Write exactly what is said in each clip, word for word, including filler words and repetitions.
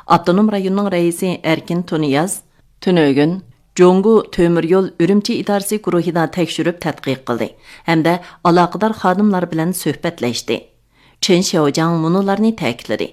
ئاپتونوم رايوننىڭ رەئىسى ئەركىن تۇنىياز تۈنۈگۈن جۇڭگو تۆمۈر يول ئۈرۈمچى ئىدارىسى گۇرۇھىدا تەكشۈرۈپ تەتقىق قىلدى ھەمدە ئالاقىدار خادىملار بىلەن سۆھبەتلەشتى. چېن شياۋجياڭ مۇنۇلارنى تەكىتلىدى: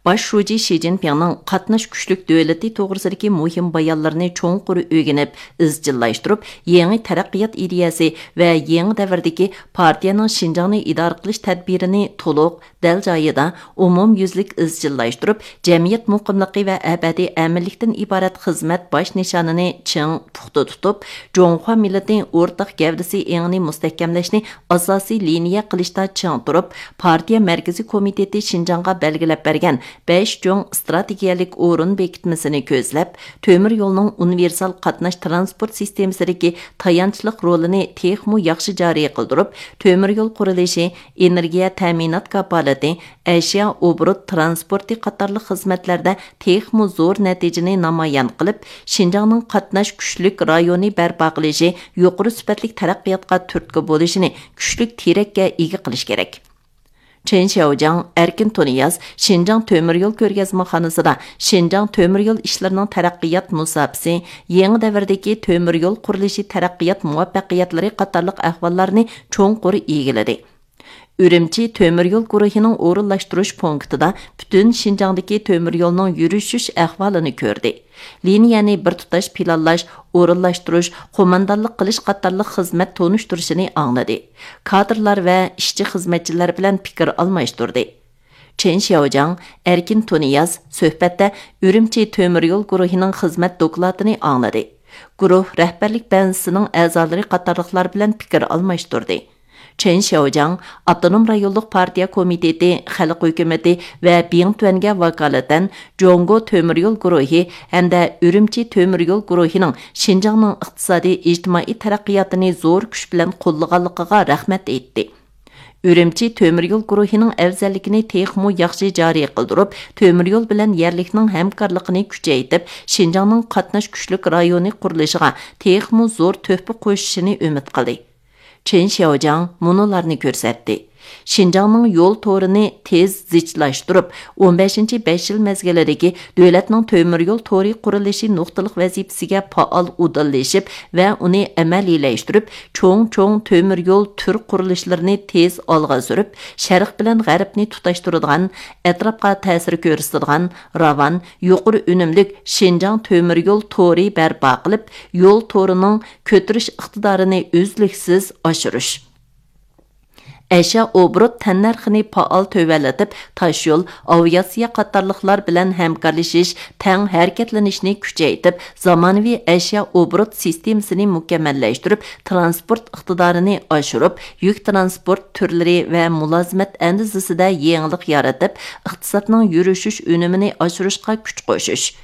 باش شۇجى شى جىنپىڭنىڭ قاتناش كۈچلۈك دۆلىتى توغرىسىدىكى مۇھىم بايانلىرىنى چوڭقۇر ئۆگىنىپ، ئىزچىللاشتۇرۇپ، يېڭى تەرەققىيات ئىدىيەسى ۋە يېڭى دەۋردىكى پارتىيەنىڭ شىنجاڭنى ئىدارە قىلىش تەدبىرىنى تولۇق، دەل جايىدا، ئومۇميۈزلۈك ئىزچىللاشتۇرۇپ، جەمئىيەت مۇقىملىقى ۋە ئەبەدىي ئەمىنلىكتىن ئىبارەت خىزمەت باش نىشانىنى چىڭ پۇختا تۇتۇپ، جۇڭخۇا مىللىتى ئورتاق گەۋدىسى ئېڭىنى مۇستەھكەملەشنى ئاساسىي لىنىيە قىلىشتا چىڭ تۇرۇپ، پارتىيە مەركىزىي كومىتېتى شىنجاڭغا بەلگىلەپ بەرگەن بەش چوڭ ئىستراتېگىيەلىك ئورۇن بېكىتمىسىنى كۆزلەپ، تۆمۈر يولنىڭ ئۇنىۋېرسال قاتناش تىرانسپورت سىستېمىسىدىكى تايانچلىق رولىنى تېخىمۇ ياخشى جارى قىلدۇرۇپ، تۆمۈر يول قۇرۇلۇشى، ئېنېرگىيە تەمىنات كاپالىتى، ئەشيا ئوبوروت ترانسپورتى قاتارلىق خىزمەتلەردە تېخىمۇ زور نەتىجىنى نامايان قىلىپ، شىنجاڭنىڭ قاتناش كۈچلۈك رايونى بەرپا قىلىشى، يۇقىرى سۈپەتلىك تەرەققىياتقا تۈرتكە بولۇشىنى كۈچلۈك تىرەككە ئىگە قىلىش كېرەك. چېن شياۋجياڭ، ئەركىن تۇنىياز شىنجاڭ تۆمۈر يول كۆرگەزمىخانىسىدا شىنجاڭ تۆمۈر يول ئىشلىرىنىڭ تەرەققىيات مۇساپىسى، يېڭى دەۋردىكى تۆمۈر يول قۇرۇلۇشى تەرەققىيات مۇۋەپپەقىيەتلىرى قاتارلىق ئەھۋاللارنى چوڭقۇر ئىگىلىدى. ئۈرۈمچى تۆمۈر يول گۇرۇھىنىڭ ئورۇنلاشتۇرۇش پونكىتىدا پۈتۈن شىنجاڭدىكى تۆمۈر يولنىڭ يۈرۈشۈش ئەھۋالىنى كۆردى. لىنىيەنى بىر تۇتاش پىلانلاش، ئورۇنلاشتۇرۇش، قوماندانلىق قىلىش قاتارلىق خىزمەت تونۇشتۇرۇشىنى ئاڭلىدى. كادىرلار ۋە ئىشچى خىزمەتچىلەر بىلەن پىكىر ئالماشتۇردى. چېن شياۋجياڭ، ئەركىن تۇنىياز سۆھبەتتە ئۈرۈمچى تۆمۈر يول گۇرۇھىنىڭ خىزمەت دوكلاتىنى ئاڭلىدى. گۇرۇھ رەھبەرلىك بەنزىسىنىڭ ئەزالىرى قاتارلىقلار بىلەن پىكىر ئالماشتۇردى. چېن شياۋجياڭ ئاپتونوم رايونلۇق پارتىيە كومىتېتى، خەلق ھۆكۈمىتى ۋە بىڭتۈەنگە ۋاكالىتەن جۇڭگو تۆمۈر يول گۇرۇھى ھەمدە ئۈرۈمچى تۆمۈر يول گۇرۇھىنىڭ شىنجاڭنىڭ ئىقتىسادىي، ئىجتىمائىي تەرەققىياتىنى زور كۈچ بىلەن قوللىغانلىقىغا رەھمەت ئېيتتى. ئۈرۈمچى تۆمۈر يول گۇرۇھىنىڭ ئەۋزەللىكىنى تېخىمۇ ياخشى جارى قىلدۇرۇپ، تۆمۈر يول بىلەن يەرلىكنىڭ ھەمكارلىقىنى كۈچەيتىپ، شىنجاڭنىڭ قاتناش كۈچلۈك رايونى قۇرۇلۇشىغا تېخىمۇ زور تۆھپە قوشۇشىنى ئۈمىد قىلدى. چېن شياۋجياڭ مۇنۇلارنى كۆرسەتتى: شىنجاڭنىڭ يول تورىنى تېز زىچلاشتۇرۇپ، ئون بەشىنچى بەش يىل مەزگىلىدىكى دۆلەتنىڭ تۆمۈر يول تورى قۇرۇلۇشى نۇقتىلىق ۋەزىپىسىگە پائال ئۇدۇللىشىپ ۋە ئۇنى ئەمەلىيلەشتۈرۈپ، چوڭ-چوڭ تۆمۈر يول تۈر قۇرۇلۇشلىرىنى تېز ئالغا سۈرۈپ، شەرق بىلەن غەربنى تۇتاشتۇرىدىغان، ئەتراپقا تەسىر كۆرسىتىدىغان، راۋان، يۇقىرى ئۈنۈملۈك شىنجاڭ تۆمۈر يول تورى بەرپا قىلىپ، يول تورىنىڭ كۆتۈرۈش ئىقتىدارىنى ئۈزلۈكسىز ئاشۇرۇش. ئەشيا ئوبوروت تەننەرخىنى پائال تۆۋەنلىتىپ، تاشيول، ئاۋىئاتسىيە قاتارلىقلار بىلەن ھەمكارلىشىش، تەڭ ھەرىكەتلىنىشنى كۈچەيتىپ، زامانىۋى ئەشيا ئوبوروت سىستېمىسىنى مۇكەممەللەشتۈرۈپ، تىرانسپورت ئىقتىدارىنى ئاشۇرۇپ، يۈك تىرانسپورت تۈرلىرى ۋە مۇلازىمەت ئەندىزىسىدە يېڭىلىق يارىتىپ، ئىقتىسادنىڭ يۈرۈشۈش ئۈنۈمىنى ئاشۇرۇشقا كۈچ قوشۇش.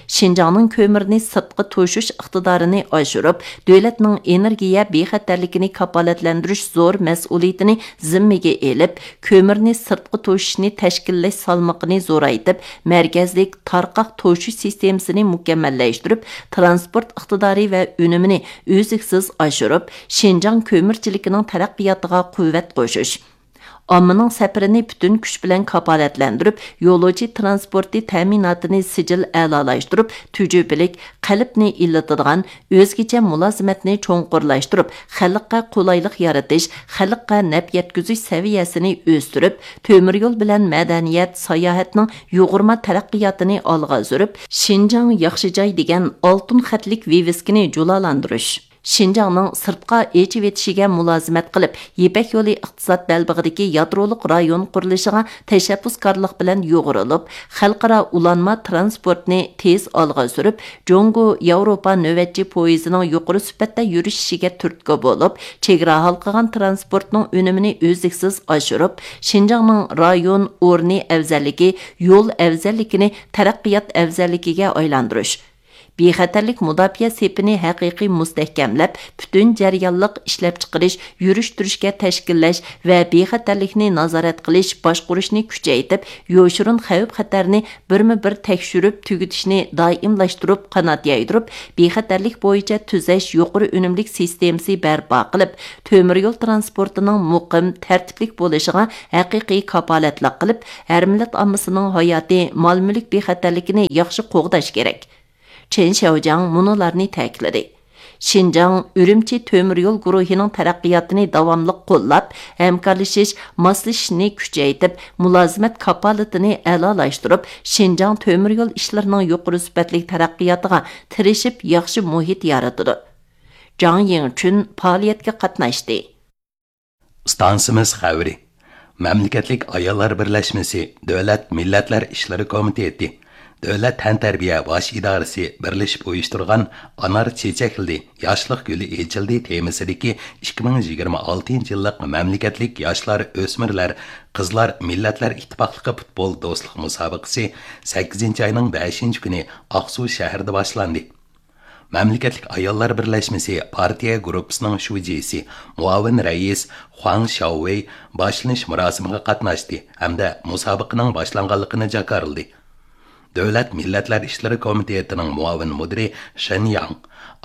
شىنجاڭنىڭ كۆمۈرنى سىرتقا توشۇش ئىقتىدارىنى ئاشۇرۇپ، دۆلەتنىڭ ئېنېرگىيە بىخەتەرلىكىنى كاپالەتلەندۈرۈش زور مەسئۇلىيىتىنى زىممىگە ئېلىپ، كۆمۈرنى سىرتقا توشۇشنى تەشكىللەش سالمىقىنى زورايتىپ، مەركەزلىك تارقاق توشۇش سىستېمىسىنى مۇكەممەللەشتۈرۈپ، تىرانسپورت ئىقتىدارى ۋە ئۈنۈمىنى ئۈزلۈكسىز ئاشۇرۇپ، شىنجاڭ كۆمۈرچىلىكىنىڭ تەرەققىياتىغا قۇۋۋەت قوشۇش. ئاممىنىڭ سەپىرىنى پۈتۈن كۈچ بىلەن كاپالەتلەندۈرۈپ، يولۇچى تىرانسپورتى تەمىناتىنى سىجىل ئەلالاشتۇرۇپ، تۈجۈپىلىك، قەلبنى ئىللىتىدىغان، ئۆزگىچە مۇلازىمەتنى چوڭقۇرلاشتۇرۇپ، خەلققە قولايلىق يارىتىش، خەلققە نەپ يەتكۈزۈش سەۋىيەسىنى ئۆستۈرۈپ، تۆمۈر يول بىلەن مەدەنىيەت، ساياھەتنىڭ يۇغۇرما تەرەققىياتىنى ئالغا سۈرۈپ، شىنجاڭ ياخشى جاي دېگەن ئالتۇن خەتلىك ۋىۋىسكىنى جۇلالاندۇرۇش. شىنجاڭنىڭ سىرتقا ئېچىۋېتىشىگە مۇلازىمەت قىلىپ، يىپەك يولى ئىقتىساد بەلبېغىدىكى يادرولۇق رايون قۇرۇلۇشىغا تەشەببۇسكارلىق بىلەن يۇغۇرۇلۇپ، خەلقئارا ئۇلانما تىرانسپورتنى تېز ئالغا سۈرۈپ، جۇڭگو ياۋروپا نۆۋەتچى پويىزىنىڭ يۇقىرى سۈپەتتە يۈرۈشۈشىگە تۈرتكە بولۇپ، چېگرا ھالقىغان تىرانسپورتنىڭ ئۈنۈمىنى ئۈزلۈكسىز ئاشۇرۇپ، شىنجاڭنىڭ رايون ئورنى ئەۋزەللىكى، يول ئەۋزەللىكىنى تەرەققىيات ئەۋزەللىكىگە ئايلاندۇرۇش. بىخەتەرلىك مۇداپىئە سېپىنى ھەقىقىي مۇستەھكەملەپ، پۈتۈن جەريانلىق ئىشلەپچىقىرىش، يۈرۈشتۈرۈشكە تەشكىللەش ۋە بىخەتەرلىكنى نازارەت قىلىش، باشقۇرۇشنى كۈچەيتىپ، يوشۇرۇن خەۋپ-خەتەرنى بىرمۇ بىر تەكشۈرۈپ تۈگىتىشنى دائىملاشتۇرۇپ قانات يايدۇرۇپ، بىخەتەرلىك بويىچە تۈزەش يۇقىرى ئۈنۈملۈك سىستېمىسى بەرپا قىلىپ، تۆمۈر يول ترانسپورتىنىڭ مۇقىم، تەرتىپلىك بولۇشىغا ھەقىقىي كاپالەتلىك قىلىپ، ھەر مىللەت ئاممىسىنىڭ ھاياتى، مال-مۈلۈك بىخەتەرلىكىنى ياخشى قوغداش كېرەك. چېن شياۋجياڭ مۇنۇلارنى تەكىتلىدى: شىنجاڭ ئۈرۈمچى تۆمۈر يول گۇرۇھىنىڭ تەرەققىياتىنى داۋاملىق قوللاپ، ھەمكارلىشىش، ماسلىشىشنى كۈچەيتىپ، مۇلازىمەت كاپالىتىنى ئەلالاشتۇرۇپ، شىنجاڭ تۆمۈر يول ئىشلىرىنىڭ يۇقىرى سۈپەتلىك تەرەققىياتىغا تىرىشىپ، ياخشى مۇھىت يارىتىدۇ. جاڭ يىڭچۈن پائالىيەتكە قاتناشتى. ئىستانسىمىز خەۋىرى. مەملىكەتلىك ئاياللار بىرلەشمىسى، دۆلەت مىللەتلەر ئىشلىرى كومىتېتى، دۆلەت تەنتەربىيە باش ئىدارىسى بىرلىشىپ ئۇيۇشتۇرغان ئانار چېچەكلىدى، ياشلىق گۈلى ئېچىلدى تېمىسىدىكى ئىككى مىڭ يىگىرمە ئالتىنچى يىللىق مەملىكەتلىك ياشلار، ئۆسمۈرلەر، قىزلار مىللەتلەر ئىتتىپاقلىقى پۇتبول دوستلۇق مۇسابىقىسى سەككىزىنچى ئاينىڭ بەشىنچى كۈنى ئاقسۇ شەھىرىدە باشلاندى. مەملىكەتلىك ئاياللار بىرلەشمىسى پارتىيە گۇرۇپپىسىنىڭ شۇجىسى، مۇئاۋىن رەئىس خۇاڭ شياۋۋېي باشلىنىش مۇراسىمىغا قاتناشتى ھەمدە مۇسابىقىنىڭ باشلانغانلىقىنى جاكارلىدى. دۆلەت مىللەتلەر ئىشلىرى كومىتېتىنىڭ مۇئاۋىن مۇدىرى شېن ياڭ،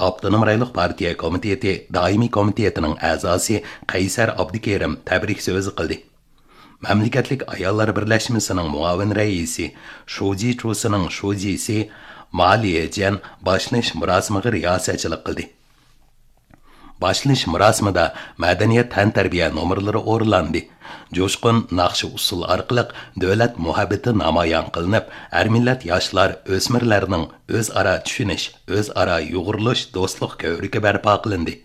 ئاپتونوم رايونلۇق پارتىيە كومىتېتى دائىمىي كومىتېتىنىڭ ئەزاسى قەيسەر ئابدۇكېرىم تەبرىك سۆزى قىلدى. مەملىكەتلىك ئاياللار بىرلەشمىسىنىڭ مۇئاۋىن رەئىسى، شۇجى چۇسىنىڭ شۇجىسى ما ليېجيەن باشلىنىش مۇراسىمىغا رىياسەتچىلىك قىلدى. باشلىنىش مۇراسىمىدا مەدەنىيەت تەنتەربىيە نومۇرلىرى ئورۇنلاندى. جۇشقۇن ناخشا-ئۇسسۇل ئارقىلىق دۆلەت مۇھەببىتى نامايان قىلىنىپ، ھەر مىللەت ياشلار، ئۆسمۈرلەرنىڭ ئۆزئارا چۈشىنىش، ئۆزئارا يۇغۇرۇلۇش دوستلۇق كۆۋرۈكى بەرپا قىلىندى.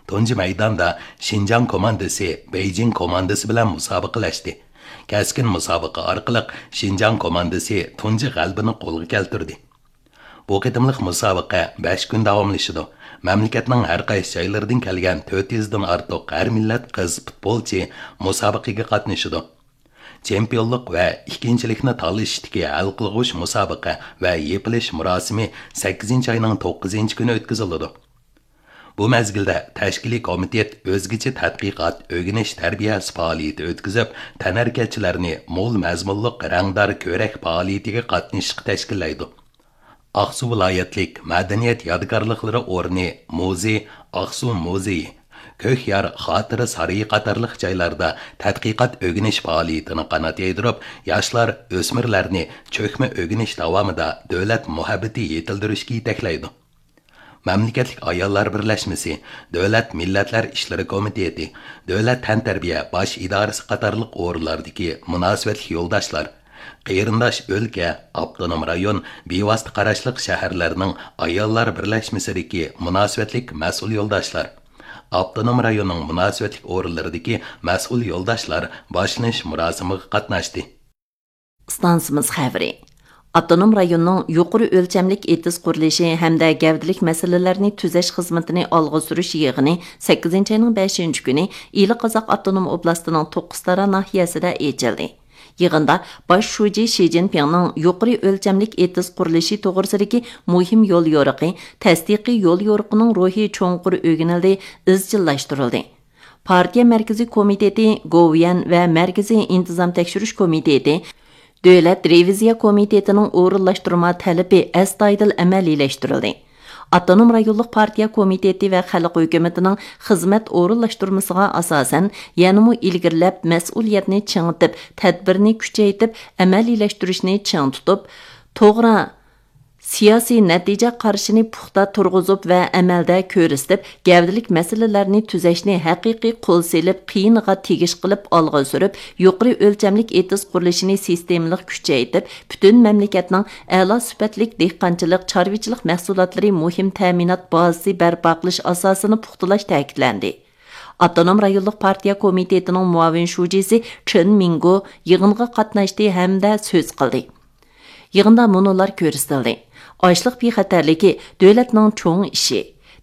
تۇنجى مەيداندا شىنجاڭ كوماندىسى بېيجىڭ كوماندىسى بىلەن مۇسابىقىلەشتى. كەسكىن مۇسابىقە ئارقىلىق شىنجاڭ كوماندىسى تۇنجى غەلىبىنى قولغا كەلتۈردى. بۇ قېتىملىق مۇسابىقە بەش كۈن داۋاملىشىدۇ. مەملىكەتنىڭ ھەر قايسى جايلىرىدىن كەلگەن تۆت يۈزدىن ئارتۇق ھەر مىللەت قىز پۇتبولچى مۇسابىقىگە قاتنىشىدۇ. چېمپىيونلۇق ۋە ئىككىنچىلىكنى تالىشىشتىكى ھەل قىلغۇچ مۇسابىقە ۋە يېپىلىش مۇراسىمى سەككىزىنچى ئاينىڭ توققۇزىنچى كۈنى ئۆتكۈزۈلىدۇ. بۇ مەزگىلدە تەشكىلىي كومىتېت ئۆزگىچە تەتقىقات، ئۆگىنىش، تەربىيەسى پائالىيىتى ئۆتكۈزۈپ، تەنھەرىكەتچىلەرنى مول مەزمۇنلۇق رەڭدار كۆرەك پائالىيىتىگە قاتنىشىشقا تەشكىللەيدۇ. ئاقسۇ ۋىلايەتلىك مەدەنىيەت يادىكارلىقلىرى ئورنى مۇزېي، ئاقسۇ مۇزېيى، كۆك يار خاتىرە سارىيى قاتارلىق جايلاردا تەتقىقات ئۆگىنىش پائالىيىتىنى قانات يايدۇرۇپ، ياشلار، ئۆسمۈرلەرنى چۆكمە ئۆگىنىش داۋامىدا دۆلەت مۇھەببىتى يېتىلدۈرۈشكە يېتەكلەيدۇ. مەملىكەتلىك ئاياللار بىرلەشمىسى، دۆلەت مىللەتلەر ئىشلىرى كومىتېتى، دۆلەت تەنتەربىيە باش ئىدارىسى قاتارلىق ئورۇنلاردىكى مۇناسىۋەتلىك يولداشلار، قېرىنداش ئۆلكە، ئاپتونوم رايون، بىۋاسىتە قاراشلىق شەھەرلەرنىڭ ئاياللار بىرلەشمىسىدىكى مۇناسىۋەتلىك مەسئۇل يولداشلار، ئاپتونوم رايوننىڭ مۇناسىۋەتلىك ئورۇنلىرىدىكى مەسئۇل يولداشلار باشلىنىش مۇراسىمىغا قاتناشتى. ئىستانسىمىز خەۋىرى. ئاپتونوم رايوننىڭ يۇقىرى ئۆلچەملىك ئېتىز قۇرۇلۇشى ھەمدە گەۋدىلىك مەسىلىلەرنى تۈزەش خىزمىتىنى ئالغا سۈرۈش يىغىنى سەككىزىنچى ئاينىڭ بەشىنچى كۈنى ئىلى قازاق ئاپتونوم ئوبلاستىنىڭ توققۇزتارا ناھىيەسىدە ئېچىلدى. يىغىندا باش شۇجى شى جىنپىڭنىڭ يۇقىرى ئۆلچەملىك ئېتىز قۇرۇلۇشى توغرىسىدىكى مۇھىم يول يورۇقى، تەستىقىي يول يورۇقىنىڭ روھى چوڭقۇر ئۆگىنىلدى، ئىزچىللاشتۇرۇلدى. پارتىيە مەركىزىي كومىتېتى، گوۋۇيۈەن ۋە مەركىزىي ئىنتىزام تەكشۈرۈش كومىتېتى، دۆلەت رېۋىزىيە كومىتېتىنىڭ ئورۇنلاشتۇرما تەلىپى ئەستايىدىل ئەمەلىيلەشتۈرۈلدى. ئاپتونوم رايونلۇق پارتىيە كومىتېتى ۋە خەلق ھۆكۈمىتىنىڭ خىزمەت ئورۇنلاشتۇرمىسىغا ئاساسەن، يەنىمۇ ئىلگىرىلەپ، مەسئۇلىيەتنى چىڭىتىپ، تەدبىرنى كۈچەيتىپ، ئەمەلىيلەشتۈرۈشنى چىڭ تۇتۇپ، توغرا سىياسىي نەتىجە قارىشىنى پۇختا تۇرغۇزۇپ ۋە ئەمەلدە كۆرسىتىپ، گەۋدىلىك مەسىلىلەرنى تۈزەشنى ھەقىقىي قول سېلىپ، قىيىنىغا تېگىش قىلىپ ئالغا سۈرۈپ، يۇقىرى ئۆلچەملىك ئېتىز قۇرۇلۇشىنى سىستېمىلىق كۈچەيتىپ، پۈتۈن مەملىكەتنىڭ ئەلا سۈپەتلىك دېھقانچىلىق، چارۋىچىلىق مەھسۇلاتلىرى مۇھىم تەمىنات بازىسى بەرپا قىلىش ئاساسىنى پۇختىلاش تەكىتلەندى. ئاپتونوم رايونلۇق پارتىيە كومىتېتىنىڭ مۇئاۋىن شۇجىسى چېن مىڭگو يىغىنغا قاتناشتى ھەمدە سۆز قىلدى. يىغىندا مۇنۇلار كۆرسىتىلدى: ئاشلىق بىخەتەرلىكى دۆلەتنىڭ چوڭ ئىشى،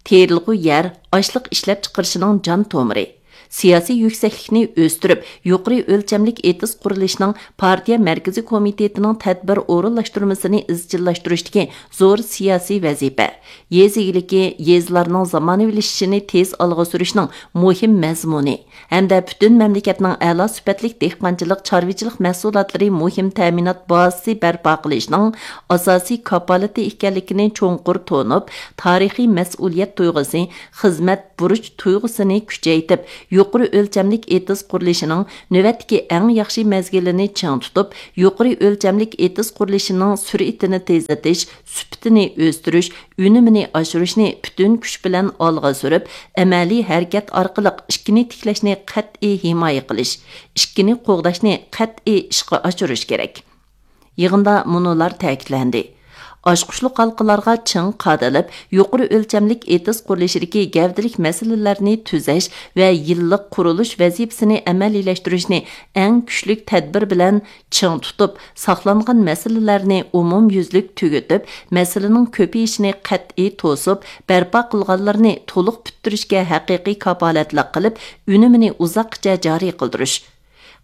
تېرىلغۇ يەر ئاشلىق ئىشلەپچىقىرىشىنىڭ جان تومۇرى، سىياسىي يۈكسەكلىكنى ئۆستۈرۈپ، يۇقىرى ئۆلچەملىك ئېتىز قۇرۇلۇشىنىڭ پارتىيە مەركىزىي كومىتېتىنىڭ تەدبىر ئورۇنلاشتۇرمىسىنى ئىزچىللاشتۇرۇشتىكى زور سىياسىي ۋەزىپە، يېزا ئىگىلىكى، يېزىلارنىڭ زامانىۋىلىشىشىنى تېز ئالغا سۈرۈشنىڭ مۇھىم مەزمۇنى ھەمدە پۈتۈن مەملىكەتنىڭ ئەلا سۈپەتلىك دېھقانچىلىق، چارۋىچىلىق مەھسۇلاتلىرى مۇھىم تەمىنات بازىسى بەرپا قىلىشنىڭ ئاساسىي كاپالىتى ئىكەنلىكىنى چوڭقۇر تونۇپ، تارىخىي مەسئۇلىيەت تۇيغۇسى، خىزمەت بۇرچ تۇيغۇسىنى كۈچەيتىپ، يۇقىرى ئۆلچەملىك ئېتىز قۇرۇلۇشىنىڭ نۆۋەتتىكى ئەڭ ياخشى مەزگىلىنى چىڭ تۇتۇپ، يۇقىرى ئۆلچەملىك ئېتىز قۇرۇلۇشىنىڭ سۈرئىتىنى تېزلىتىش، سۈپىتىنى ئۆستۈرۈش، ئۈنۈمىنى ئاشۇرۇشنى پۈتۈن كۈچ بىلەن ئالغا سۈرۈپ، ئەمەلىي ھەرىكەت ئارقىلىق ئىككىنى تىكلەشنى قەتئىي ھىمايە قىلىش، ئىككىنى قوغداشنى قەتئىي ئىشقا ئاشۇرۇش كېرەك. يىغىندا مۇنۇلار تەكىتلەندى. ئاچقۇچلۇق ھالقىلارغا چىڭ قادىلىپ، يۇقىرى ئۆلچەملىك ئېتىز قۇرۇلۇشىدىكى گەۋدىلىك مەسىلىلەرنى تۈزەش ۋە يىللىق قۇرۇلۇش ۋەزىپىسىنى ئەمەلىيلەشتۈرۈشنى ئەڭ كۈچلۈك تەدبىر بىلەن چىڭ تۇتۇپ، ساقلانغان مەسىلىلەرنى ئومۇميۈزلۈك تۈگىتىپ، مەسىلىنىڭ كۆپىيىشىنى قەتئىي توسۇپ، بەرپا قىلغانلىرىنى تولۇق پۈتتۈرۈشكە ھەقىقىي كاپالەتلىك قىلىپ، ئۈنۈمىنى ئۇزاققىچە جارى قىلدۇرۇش.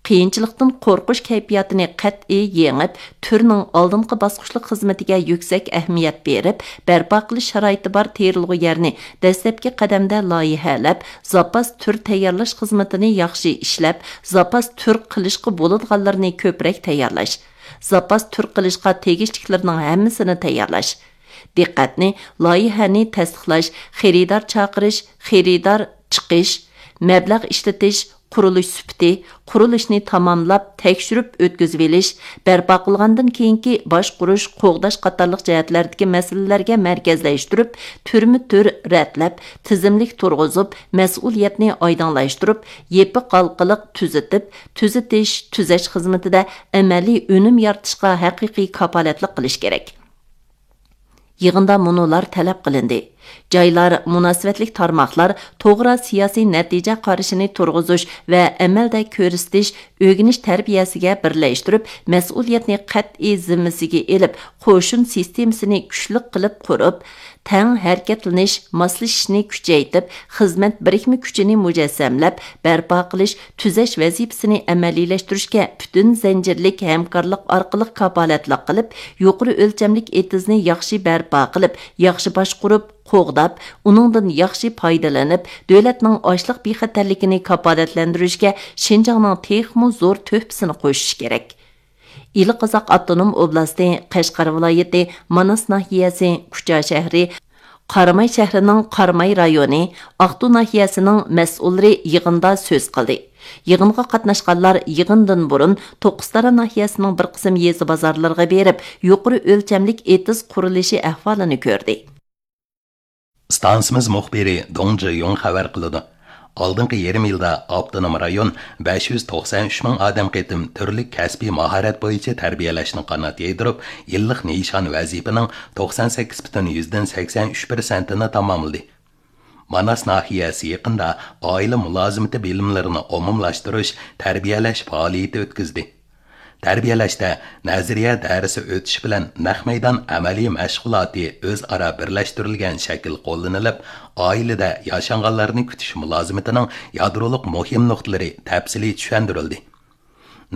قىيىنچىلىقتىن قورقۇش كەيپىياتىنى قەتئىي يېڭىپ، تۈرنىڭ ئالدىنقى باسقۇچلۇق خىزمىتىگە يۈكسەك ئەھمىيەت بېرىپ، بەرپا قىلىش شارائىتى بار تېرىلغۇ يەرنى دەسلەپكى قەدەمدە لايىھەلەپ، زاپاس تۈر تەييارلاش خىزمىتىنى ياخشى ئىشلەپ، زاپاس تۈر قىلىشقا بولىدىغانلىرىنى كۆپرەك تەييارلاش، زاپاس تۈر قىلىشقا تېگىشلىكلىرىنىڭ ھەممىسىنى تەييارلاش، دىققەتنى لايىھەنى تەستىقلاش، خېرىدار چاقىرىش، خېرىدار چىقىش، مەبلەغ ئىشلىتىش، قۇرۇلۇش سۈپىتى، قۇرۇلۇشنى تاماملاپ، تەكشۈرۈپ ئۆتكۈزۈۋېلىش، بەرپا قىلغاندىن كېيىنكى باشقۇرۇش، قوغداش قاتارلىق جەھەتلەردىكى مەسىلىلەرگە مەركەزلەشتۈرۈپ، تۈرمە تۈر رەتلەپ، تىزىملىك تۇرغۇزۇپ، مەسئۇلىيەتنى ئايدىڭلاشتۇرۇپ، يېپىق ھالقىلىق تۈزىتىپ، تۈزىتىش، تۈزەش خىزمىتىدە ئەمەلىي ئۈنۈم يارىتىشقا ھەقىقىي كاپالەتلىك قىلىش كېرەك. يىغىندا مۇنۇلار تەلەپ قىلىندى. جايلار، مۇناسىۋەتلىك تارماقلار توغرا سىياسىي نەتىجە قارىشىنى تۇرغۇزۇش ۋە ئەمەلدە كۆرسىتىش، ئۆگىنىش تەربىيەسىگە بىرلەشتۈرۈپ، مەسئۇلىيەتنى قەتئىي زىممىسىگە ئېلىپ، قوشۇن سىستېمىسىنى كۈچلۈك قىلىپ قۇرۇپ، تەڭ ھەرىكەتلىنىش، ماسلىشىشنى كۈچەيتىپ، خىزمەت بىرىكمە كۈچىنى مۇجەسسەملەپ، بەرپا قىلىش، تۈزەش ۋەزىپىسىنى ئەمەلىيلەشتۈرۈشكە پۈتۈن زەنجىرلىك ھەمكارلىق ئارقىلىق كاپالەتلىك قىلىپ، يۇقىرى ئۆلچەملىك ئېتىزنى ياخشى بەرپا قىلىپ، ياخشى باشقۇرۇپ، قوغداپ، ئۇنىڭدىن ياخشى پايدىلىنىپ، دۆلەتنىڭ ئاشلىق بىخەتەرلىكىنى كاپالەتلەندۈرۈشكە شىنجاڭنىڭ تېخىمۇ زور تۆھپىسىنى قوشۇش كېرەك. ئىلى قازاق ئاپتونوم ئوبلاستى، قەشقەر ۋىلايىتى، ماناس ناھىيەسى، كۇچا شەھىرى، قاراماي شەھىرىنىڭ قاراماي رايونى، ئاقتۇ ناھىيەسىنىڭ مەسئۇللىرى يىغىندا سۆز قىلدى. يىغىنغا قاتناشقانلار يىغىندىن بۇرۇن توققۇزتارا ناھىيەسىنىڭ بىر قىسىم يېزا بازارلىرىغا بېرىپ، يۇقىرى ئۆلچەملىك ئېتىز قۇرۇلۇشى ئەھۋالىنى كۆردى. ئىستانسىمىز مۇخبىرى دۇڭ جىيۇڭ خەۋەر قىلىدۇ. ئالدىنقى يېرىم يىلدا ئاپتونوم رايون بەش يۈز توقسان ئۈچ مىڭ ئادەم قېتىم تۈرلۈك كەسپىي ماھارەت بويىچە تەربىيەلەشنى قانات يايدۇرۇپ، يىللىق نىشان ۋەزىپىنىڭ توقسان سەككىز پۈتۈن يۈزدىن سەكسەن ئۈچ پىرسەنتىنى تاماملىدى. ماناس ناھىيەسى يېقىندا ئائىلە مۇلازىمىتى بىلىملىرىنى ئومۇملاشتۇرۇش، تەربىيەلەش پائالىيىتى ئۆتكۈزدى. تەربىيەلەشتە نەزەرىيە دەرسى ئۆتۈش بىلەن نەق مەيدان ئەمەلىي مەشغۇلاتى ئۆزئارا بىرلەشتۈرۈلگەن شەكىل قوللىنىلىپ، ئائىلىدە ياشانغانلارنى كۈتۈش مۇلازىمىتىنىڭ يادرولۇق مۇھىم نۇقتىلىرى تەپسىلىي چۈشەندۈرۈلدى.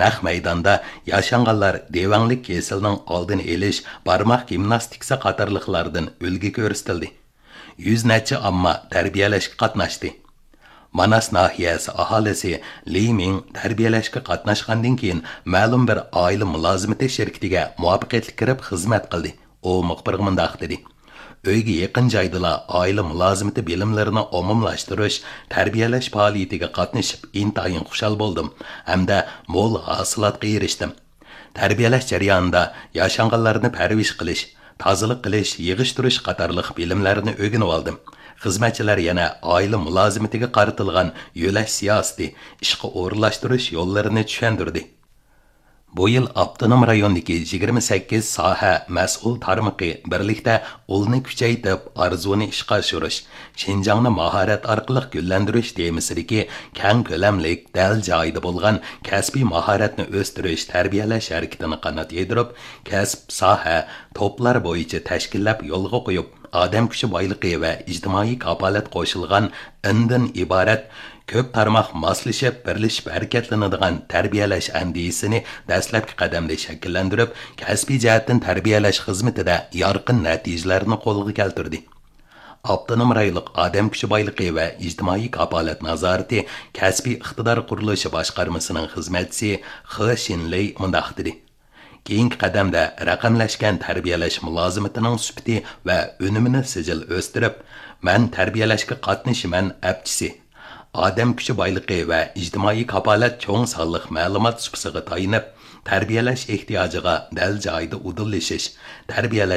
نەق مەيداندا ياشانغانلار دېۋەڭلىك كېسىلىنىڭ ئالدىنى ئېلىش، بارماق گىمناستىكىسى قاتارلىقلاردىن ئۈلگە كۆرسىتىلدى. يۈز نەچچە ئامما تەربىيەلەشكە قاتناشتى. ماناس ناھىيەسى ئاھالىسى لى مىڭ تەربىيەلەشكە قاتناشقاندىن كېيىن، مەلۇم بىر ئائىلە مۇلازىمىتى شىركىتىگە مۇۋەپپەقىيەتلىك كىرىپ خىزمەت قىلدى. ئۇ مۇخبىرغا مۇنداق دېدى: ئۆيگە يېقىن جايدىلا ئائىلە مۇلازىمىتى بىلىملىرىنى ئومۇملاشتۇرۇش، تەربىيەلەش پائالىيىتىگە قاتنىشىپ ئىنتايىن خۇشال بولدۇم ھەمدە مول ھاسىلاتقا ئېرىشتىم. تەربىيەلەش جەريانىدا ياشانغانلارنى پەرۋىش قىلىش، تازىلىق قىلىش، يىغىشتۇرۇش قاتارلىق بىلىملەرنى ئۆگىنىۋالدىم. خىزمەتچىلەر يەنە ئائىلە مۇلازىمىتىگە قارىتىلغان يۆلەش سىياسىتى، ئىشقا ئورۇنلاشتۇرۇش يوللىرىنى چۈشەندۈردى. بۇ يىل ئاپتونوم رايوندىكى يىگىرمە سەككىز ساھە مەسئۇل تارمىقى بىرلىكتە ئۇلنى كۈچەيتىپ، ئارزۇنى ئىشقا ئاشۇرۇش، شىنجاڭنى ماھارەت ئارقىلىق گۈللەندۈرۈش تېمىسىدىكى كەڭ كۆلەملىك، دەل جايىدا بولغان كەسپىي ماھارەتنى ئۆستۈرۈش، تەربىيەلەش ھەرىكىتىنى قانات يايدۇرۇپ، كەسىپ، ساھە، توپلار بويىچە تەشكىللەپ يولغا قويۇپ، ئادەم كۈچى بايلىقى ۋە ئىجتىمائىي كاپالەت قوشۇلغان ئىندىن ئىبارەت كۆپ تارماق ماسلىشىپ، بىرلىشىپ ھەرىكەتلىنىدىغان تەربىيەلەش ئەندىزىسىنى دەسلەپكى قەدەمدە شەكىللەندۈرۈپ، كەسپىي جەھەتتىن تەربىيەلەش خىزمىتىدە يارقىن نەتىجىلەرنى قولغا كەلتۈردى. ئاپتونوم رايونلۇق ئادەم كۈچى بايلىقى ۋە ئىجتىمائىي كاپالەت نازارىتى كەسپىي ئىقتىدار قۇرۇلۇشى باشقارمىسىنىڭ خىزمەتچىسى خې شىنلېي مۇنداق دېدى: كېيىنكى قەدەمدە رەقەملەشكەن تەربىيەلەش مۇلازىمىتىنىڭ سۈپىتى ۋە ئۈنۈمىنى سىجىل ئۆستۈرۈپ، مەن تەربىيەلەشكە قاتنىشىمەن ئەپچىسى، ئادەم كۈچى بايلىقى ۋە ئىجتىمائىي كاپالەت چوڭ سانلىق مەلۇمات سۇپىسىغا تايىنىپ، تەربىيەلەش ئېھتىياجىغا دەل جايىدا ئۇدۇللىشىش، تەربىيەلەش